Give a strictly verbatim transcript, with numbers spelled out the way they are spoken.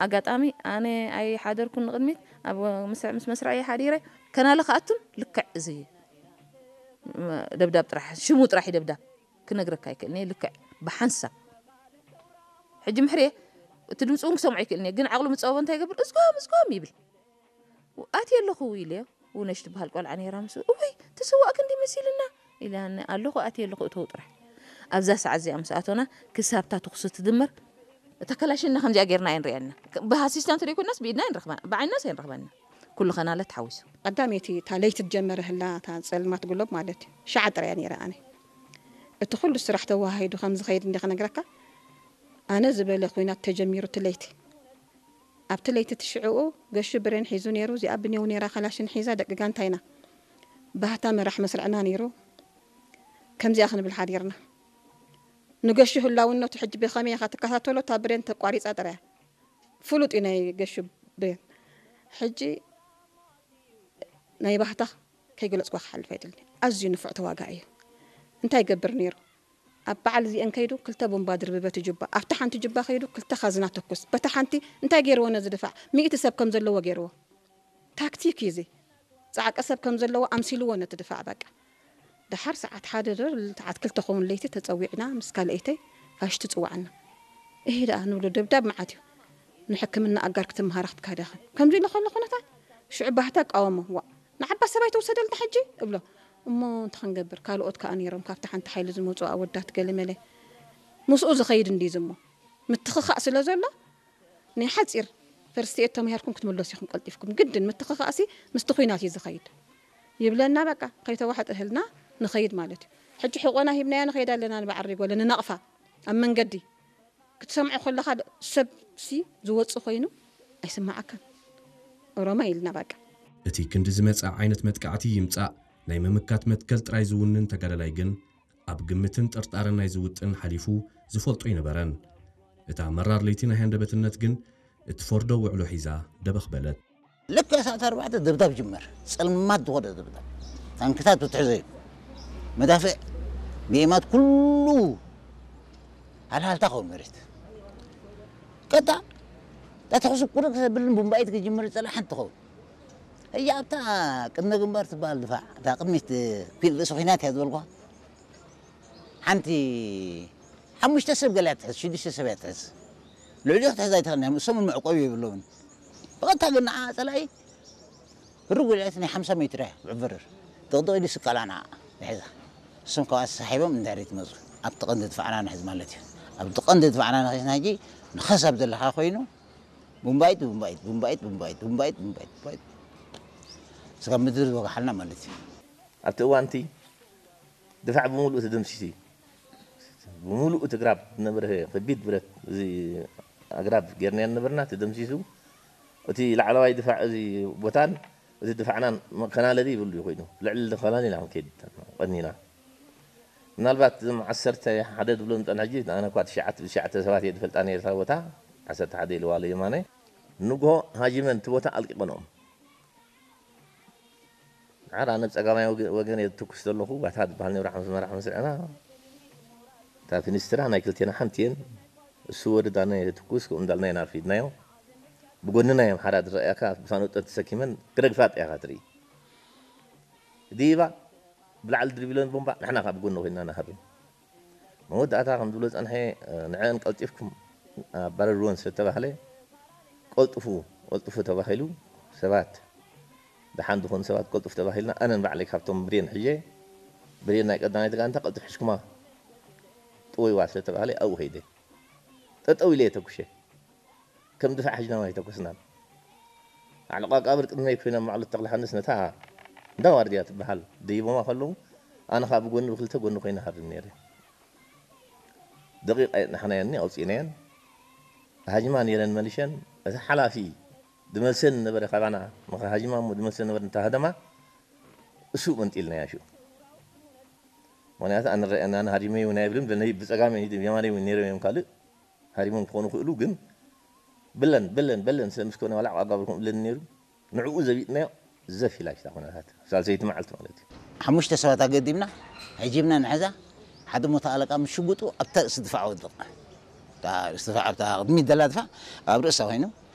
አጋጣሚ አነ ኣይሓደርኩን ንቅድሚት፣ ኣብ መስርዕ ምስ መስርዐይ ሓዲረ፣ ከናለ ከኣቱን ልክዕ እዚ ደብዳብ ጥራሕ፣ ሽሙ ጥራሕ ደብዳብ ክነግረካ ኣይክእልን እየ፣ ልክዕ ብሓንሳብ። ሕጂ ምሕርየ እቲ ድምጹ እውን ክሰምዖ ኣይክእልን እየ፣ ግን ዓቅሉ ምጸበቦ እንታይ ይገብር? እዝጎም፣ እዝጎም ይብል። ኣትየ ኣለኹ ኢለዮ፣ ውነሽ ትበሃል ቆልዓ ነይራ ምስኡ፣ እወይ፣ ተሰዋእኪ እንዲ መሲልና ኢላኒ፣ ኣለኹ፣ ኣትየ ኣለኹ፣ እተው ጥራሕ። ኣብዛ ሰዓት እዚኣ ምስ ኣቶና፣ ክሳብ እታ ተኹሲ ትድመር፣ እታ ከላሽና ከምዚኣ ጌርና ኣይንርእየና። ብኣሲስታንት ደይኮናስ ብኢድና ኣይንረኽባን፣ ብዓይንናስ ኣይንረኽባን። ኩሉ ኸናለ ተሓዊሱ። ቀዳመይቲ እታ ለይቲ ትጀመረ ህላ፣ እታ ጸልማት ግሎብ ማለት እዩ። ሸዓ ጥራይ እያ ነይረ ኣነ። እቲ ኩሉ ስራሕ ተወሃሂዱ ከም ዝኸይድ እንዴ ክነግረካ፣ ኣነ ዝበለ ኲናት ተጀሚሩ እቲ ለይቲ። ኣብቲ ለይቲ እቲ ሽዕኡ ገሹ ብሬን ሒዙ ነይሩ፣ እዚኣ ብኔው ነይራ፣ ከላሽን ሒዛ፣ ደቂ ጋንታይና። ባህታ መራሕ መስርዕና ነይሩ። ከምዚኣ ክንብል ሓዲርና። ንገሹ ህላውነቱ ሕጂ ብኸመይ ኢኻ ትከታተሎ? እታ ብሬን ተቋሪጻ ጥራይ። ፍሉጥ እዩ ናይ ገሹ ብሬን። ሕጂ ናይ ባህታ ከይገለጽኩ ክሓልፍ ኣይደልን። ኣዝዩ ንፉዕ ተዋጋኢ እዩ። እንታይ ይገብር ነይሩ? ኣብ በዓል እዚአን ከይዱ ክልተ ቡምባ ድርብበት ጅባ፣ ኣብታ ሓንቲ ጅባ ከይዱ ክልተ ካዝና ተኩስ። በታ ሓንቲ እንታይ ገይርዎ ነዚ ድፋዕ? ሚእቲ ሰብ ከም ዘለዎ ገይርዎ። ታክቲክ እዩ እዚ። ጸዓቀ ሰብ ከም ዘለዎ ኣምሲልዎ ነቲ ድፋዕ በቃ። ደሓር ሰዓት ሓደ ዶ ሰዓት ክልተ ኸውን ለይቲ ተጸዊዕና ምስ ካልአይተይ ፋሽ ትጽዋዓና። እሄ ደኣ ንብሎ ደብዳብ መዓት እዩ። ንሕክምና ኣጋር ክትምሃራ ክትካደኽን። ከምዚ ኢለ ከሎ ኩነታት ሽዑ ባህታ እቃወሞ። ዋእ፣ ንዓባ ሰብኣይ ተውሰደልና ሕጂ እብሎ። እሞ እንታይ ክንገብር፣ ካልኦት ከኣ ነይሮም፣ ካብቲ ሓንቲ ሓይሊ ዝመጹ ኣወዳት ገለ መለ። ምስኡ ዝኸይድ እንዲ ዝሞ። ምትኽኻእ ስለ ዘሎ፣ ናይ ሓጺር ፈርስት ኤድ ተማሂርኩም ክትምለሱ ኢኹም ቀልጢፍኩም። ግድን ምትኽኻእሲ ምስቲ ኹናት እዩ ዝኸይድ። ይብለና በቃ፣ ከይተዋሕጠ እህልና ንኸይድ ማለት እዩ። ሕጂ ሕቆና ሂብናዮ ንኸይድ ኣለና፣ ንበዓል ሪጎለ ንነቕፋ ኣብ መንገዲ። ክትሰምዖ ከለኻ ድ-፣ ሰብሲ ዝወጽእ ኮይኑ ኣይስመዓካን። ኦሮማይ ኢልና በቃ። እቲ ክንዲ ዝመጽእ ዓይነት መጥቃዕቲ ይምጻእ፣ ናይ ምምካት መትከል ጥራይ ዝውንን ተጋዳላይ ግን፣ ኣብ ግምትን ጥርጣረን ናይዚ ውጥን ሓሊፉ ዝፈልጦ ኣይነበረን። እታ መራር ለይቲ ናይ ሃንደበትነት ግን፣ እት ፈርዶ ውዕሎ ሒዛ ደበኽ በለት። ልክ ሰዓት ኣርባዕተ ደብዳብ ጅመር። ጸልማት ዝኾነ ደብዳብ። ታንክታት ትትሕዘ እዩ። መዳፍዕ፣ ቢኤማት ኩሉ ሃልሃልታ ከውን መሬት። ቀጣ፣ እታ ተኹሲ ቁርጥ ብልን ቡምባይት ክጅምር ጸላ ሓንቲ ትኸውን። እያ ኣብታ ቅድመ ግንባር ትበሃል ድፋዕ፣ እታ ቅድሚት ኲን-፣ ርእሲ ኲናት እያ ዝበልኳ። ሓንቲ ሓሙሽተ ሰብ ገለ እያ ትሕዝ፣ ሽዱሽተ ሰብ እያ ትሕዝ። ልዕሊኡ ክትሕዝ ኣይትኽእልን እያ፣ እሶም እውን መዕቆቢ የብሎምን። ብቐጥታ ግን ንዓ ጸላኢ ህርግ ወዲዐት ናይ ሓምሳ ሜትር እያ ብዕብርር። ጥቕጥቕ ኢሉ ስቀላ ንዓ ይሕዛ። እሶም ካብኣ ተሳሒቦም ንድሕሪት ይመጹ። ኣብቲ ቀንዲ ድፋዕና ንሕዝ ማለት እዩ። ኣብቲ ቀንዲ ድፋዕና ንኺስና ሕጂ ንኸስ ኣብ ዘለኻ ኮይኑ ቡምባይት፣ ቡምባይት፣ ቡምባይት፣ ቡምባይት፣ ቡምባይት፣ ቡምባይት፣ ቡምባይት። ስጋብ ምድሪ ዝወግሓልና ማለት እዩ። ኣብቲ እዋን እቲ ድፋዕ ብምሉእ ተደምሲሱ እዩ። ብምሉእ እቲ ግራብ ዝነበረ ከቢድ ብረት፣ እዚ ኣግራብ ጌርናዮ ነበርና፣ ተደምሲሱ። እቲ ላዕለዋይ ድፋዕ እዚ ቦታን እቲ ድፋዕናን ከናለ ድዩ ይብሉ ኮይኑ፣ ልዕሊ ከናለ ኢና ክንከይድ ቀኒና። ምናልባት እዞም ዓሰርተ ሓደ ዝብሎም ዝጸንሐ ሕጂ፣ ኣነ እኳ ትሽዓተ፣ ትሽዓተ ሰባት እየ ዝፈልጣ ነይረ እታ ቦታ፣ ዓሰርተ ሓደ ኢልዋ ኣሎ የማነ። ንግሆ ሃጂመን እቲ ቦታ ኣልቂቐንኦም። ደሓር ኣነ ብጸጋማይ ወገ-፣ ወገን እየ ዝትኩስ ዘለኹ፣ ባታ ዝበሃል ነይሩ ሓምስ መራሕ መስርዕና። እታ ፊኒስትራ ናይ ክልቴና ሓንቲ እየን። እሱ ወርድ ኣነ እየ ዝትኩስ፣ ከምኡ እንዳልና ኢና ኣርፊድናዮ። ብጎንና እዮም ሓራ ዝረኣያካ፣ ብሳንጦ ተሰኪመን ክረግፋ ጥያኻ ትርኢ። ዲባ ብላዕሊ ድርቢለን ቦምባ፣ ንሕና ከኣ ብጎኒ ኮይንና ንሃርም። መወዳእታ ከም ዝብሎ ጸንሐ፣ ንዐን ቀልጢፍኩም ኣባረርወን ስለ ተባህለ፣ ቀልጥፉ፣ ቀልጥፉ ተባሂሉ፣ ሰባት፣ ደሓን ዝኾኑ ሰባት ቀልጥፉ ተባሂልና፣ ኣነን ባዕለይ ካብቶም ብሬን ሕዤ፣ ብሬን ናይ ቀዳማይቲ ጋንታ ቀልጥፍ ሕሽኩማ ጥወይዋ ስለ ተባህለ፣ ኣብኡ ከይደ። ጠጠው ኢለ እየ ተኩሼ። ከም ድፋዕ ሕጅናውን ኣይተኮስናን። ዓለቃ ቃብር ቅድመይ ኮይና ማዕሎት ተክለሃንስ ነታ እንዳ ዋርድያ ትበሃል ደይቦማ ከለዉ፣ ኣነ ኸኣ ብጎኒ ብክልተ ጎኒ ኮይነ ሃርም ነይረ። ደቂቅ ኣየጽናሕናየኒ ኣውጺእናየን። ሃጅማ ነይረን መልሸን፣ እቲ ሓላፊ ድመልሰን ነበረ ካባና፣ ምኽሪ ሃጅማ እሞ ድመልሰን ነበረ እንተ ሃደማ፣ እሱ መንጢልናያ ሽኡ። ምኽንያቱ ኣነ ረኣየኒ፣ ኣነ ሃዲመ እዩ ናይ ብልም፣ ብጸጋመ ይድም፣ የማነ እውን ነይሮም እዮም ካልእ። ሃሪሞም ክኾኑ ክእሉ፣ ግን ብለን፣ በለን፣ በለን ስለ ምስ ኮነ ዋላ ኣጋብርኩም እብለኒ ነይሩ። ንዕኡ ዘቢጥናዮ ዘፍ ኢላ ሽታ ኩነታት። ሳልሰይቲ መዓልቲ ማለት እዩ። ሓሙሽተ ሰባት ኣገዲምና፣ ዐጂብና ንሐዛ፣ ሓደ ሞተ ኣለቃ ምስ ሽጉጡ ኣብታ ርእሲ ድፋዕ ወድቕ። እታ ርእሲ ድፋዕ፣ ኣብታ ቅድሚት ደላ ድፋዕ ኣብ ርእሳ ኮይኑ፣